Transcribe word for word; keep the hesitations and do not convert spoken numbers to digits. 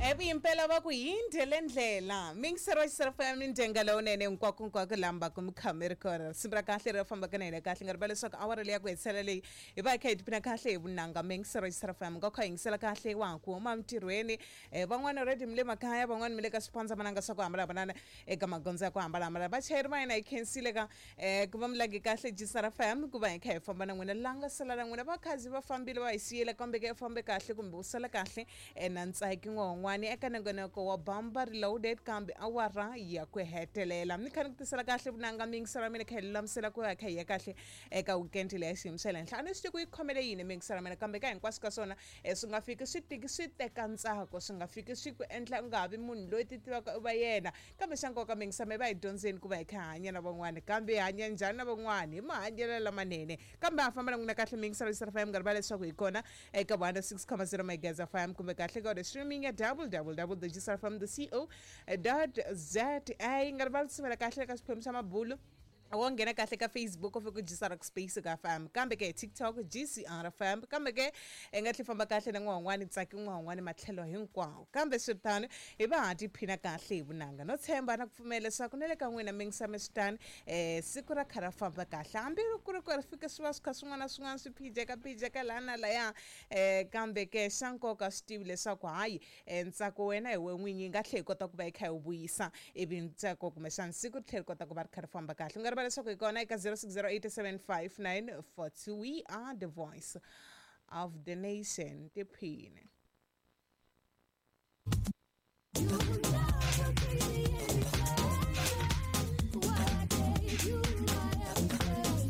Evuyimpela va ku yinde le ndlela mingisero wa xiserafa mi ndyenga lowunene hinkwako hinkwako lamba ku mi khame ri kona risimu ra kahle ri fambaka na hina kahle nga riva leswaku awara leyi ya ku hetisela leyi hi va hi kha hi tiphina kahle hi vunanga mingisero wa xiserafa mi nga kha yingisela kahle wa ha ku huma emintirhweni um van'wana already mi le makaya van'wana mi le ka swipandzamananga swa ku hambanahambana eka magondzo ya ku hambanahambana vachayeri va hina hi khensile ka um ku va mi lange kahle G S R F M ku va hi kha hi famba na n'wina la nga sala na n'wina vakhazi va fambile va hi siyile kambe ke fambe kahle kumbe u sala kahle um na ntsaki n'wan'wani eka nongonoko wa Bamba Reloaded kambe awara ya ku hetelela ni kha ni ku tisela kahle vunanga mingiselo mina kha hi lulamisela ku ya kha hi ya kahle eka weekend leya xiyimo xa le henhla. A ni swi tivi ku yi khomele yini mingiselo mina, kambe ka hinkwaswo ka swona um swi nga fiki swi tiki swi teka ntsako, swi nga fiki swi ku endla u nga ha vi munhu loyi ti tivaka u va yena. Kambe xa nkoka mingiselo mi va hi dyondzeni ku va hi kha hi hanya na van'wana, kambe hi hanya njhani na van'wana? Hi mahanyelo lamanene. Kambe ha famba na n'wina kahle mingiselo F M, nga rivala leswaku hi kona eka one six zero megahertz F M kumbe kahle ka streaming ya W W W G S R F M co za. Nga rivali sivela kahle eka xiphemu xa mabulu, wo nghena kahle ka Facebook u fika u G S R Space ka F M, kambe ke TikTok G C R F M, kambe ke i nga tlhe famba kahle na n'wan'wani tsaki n'wan'wani matlhelo hinkwawo. Kambe swiritano hi va ha tiphina kahle hi vunanga no tshemba na ku pfumela leswaku na le ka n'wina mingisame switani um siku ra kha ra famba kahle, hambi ku ri ku ri fika swi va swi kha swin'wana na swin'wana swi phijeka phijeka laha na laya um kambe ke xa nkoka swi tivi leswaku hayi um ntsako wena hi we n'winyi yi nga tlhela yi kota ku va yi kha yi wu vuyisa ivi ntsako kumbexana siku ri tlhela ri kota ku va ri kha ri famba kahle. U nga rivala leswaku hi kona eka zero six zero eight seven five nine four two. We are the voice of the nation. Tiphine. You love the